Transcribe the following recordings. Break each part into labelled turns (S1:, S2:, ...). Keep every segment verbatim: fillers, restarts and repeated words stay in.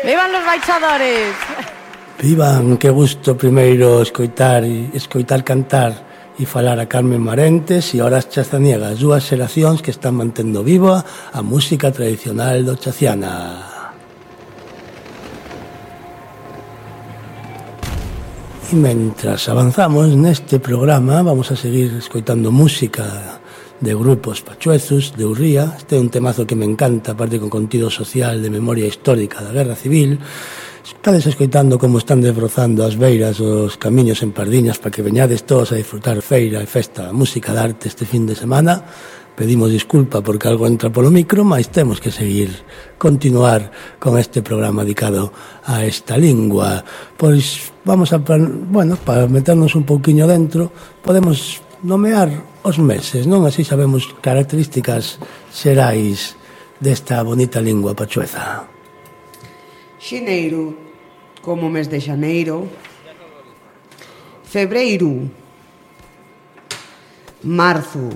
S1: Vivan los baixadores.
S2: Vivan, que gusto primeiro escoitar escoitar cantar e falar a Carmen Marentes e Horas Chazaniegas, dúas xeracións que están mantendo viva a música tradicional do Chaciana. E mentras avanzamos neste programa vamos a seguir escoitando música de grupos pachuezos, de Urría. Este é un temazo que me encanta, aparte con contido social de memoria histórica da Guerra Civil. Estades escoitando como están desbrozando as beiras os camiños en Pardiñas para que veñades todos a disfrutar feira e festa, música de arte este fin de semana. Pedimos disculpa porque algo entra polo micro, mas temos que seguir, continuar con este programa dedicado a esta lingua. Pois vamos a, bueno, para meternos un pouquiño dentro, podemos nomear os meses, non? Así sabemos características xerais desta bonita lingua pachueza.
S3: Xeneiro, como mes de xaneiro. Febreiro. Marzo.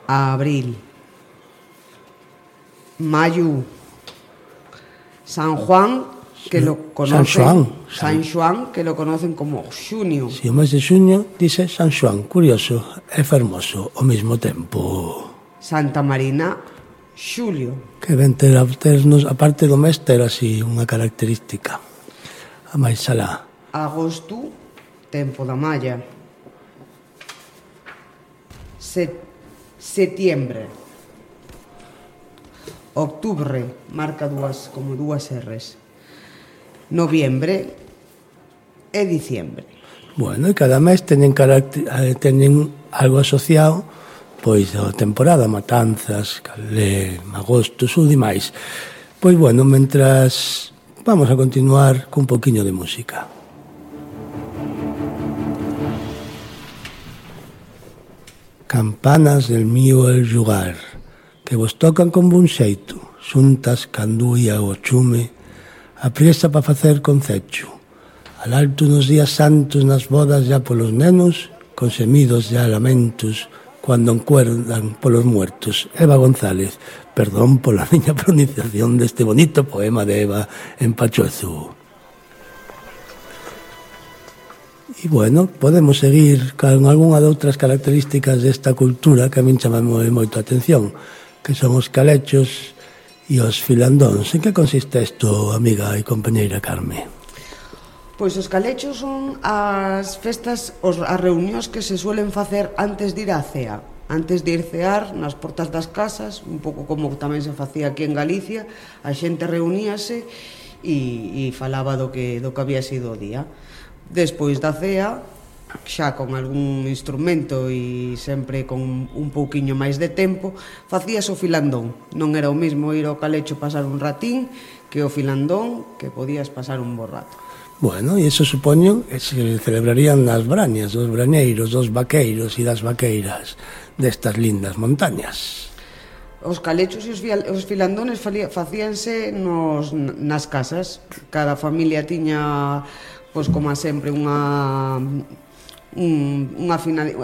S3: Abril. Mayo. San Juan, que lo conocen,
S2: San Xoán,
S3: San Xoán, que lo conocen como xunio.
S2: Si, o mes de xuño dice San Xoán, curioso e fermoso ao mesmo tempo.
S3: Santa Marina, xulio.
S2: Que ven ter, ternos, a parte do mes, ter así unha característica. A máis alá.
S3: Agosto, tempo da malla. Set, setiembre. Octubre, marca dúas, como dúas erres. Noviembre e diciembre.
S2: Bueno, e cada mes teñen, carácter, teñen algo asociado, pois a temporada, matanzas, calé, agosto, sul e máis. Pois bueno, mentras vamos a continuar cun poquinho de música. Campanas del mío el lugar, que vos tocan con bon xeito, xuntas canduia o chume, a priesa pa facer concecho, al alto nos días santos nas bodas ya polos nenos, con semidos ya lamentos, cuando encuerdan polos muertos. Eva González, perdón pola miña pronunciación deste bonito poema de Eva en pachuezo. E bueno, podemos seguir con algunha de outras características desta cultura que a min chamamos moito a atención, que son os calechos e os filandóns. En que consiste isto, amiga e compañeira Carme?
S3: Pois os calechos son as festas, os, as reunións que se suelen facer antes de ir á cea. Antes de ir cear nas portas das casas, un pouco como tamén se facía aquí en Galicia, a xente reuníase e, e falaba do que, do que había sido o día. Despois da cea, xa con algún instrumento e sempre con un pouquiño máis de tempo, facías o filandón. Non era o mesmo ir ao calecho pasar un ratín que o filandón, que podías pasar un bo rato.
S2: Bueno, e iso supoño que se celebrarían nas brañas dos brañeiros, dos vaqueiros e das vaqueiras destas lindas montañas.
S3: Os calechos e os, os filandones facíanse nos, nas casas. Cada familia tiña, pois como sempre, unha un, unha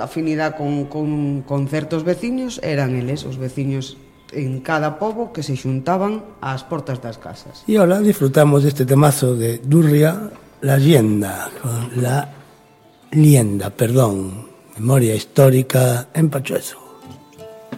S3: afinidade con, con, con certos veciños. Eran eles, os veciños en cada pobo, que se xuntaban ás portas das casas.
S2: E ahora disfrutamos deste temazo de Durria, la lienda, la lienda, perdón, memoria histórica en pachuezo.